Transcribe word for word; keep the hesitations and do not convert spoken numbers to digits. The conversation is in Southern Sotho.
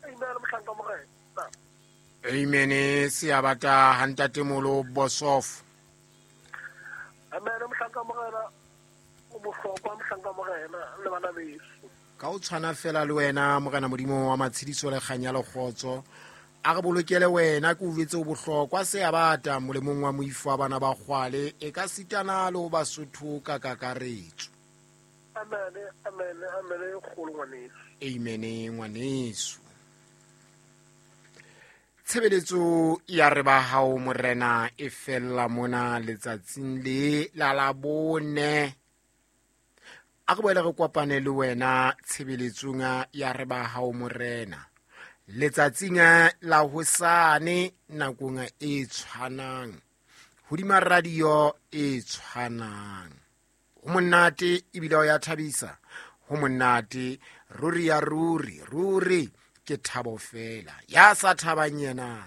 Amen, mohlanka morena. Amen, seabata ha ntatemolo Bosof. Amen, mohlanka morena. O bohlokwa mohlanka morena le bana beso. Ka o tshwana fela le wena morena Modimo wa matshediso le kganya le kgotso. A re bolokele wena ke o jwetse o bohlokwa seabata molemong wa moifo wa bana ba kgwale e ka sitana le ho Basotho ka kakaretso. Amen, amen, amen, kgolo ngwaneso. Amen ngwaneso. Tshebeletso ya re ba hao morena e fella mona letsatsing le la Labone. A re boele re kopane le wena tshebeletsong ya re ba hao morena letsatsing la hosane nakong e tshwanang hodima radio e tshwanang. Ho monate ebile o ya thabisa, ho monate ruri ya ruri ruri ke thabo fela. Ya sa thabang yena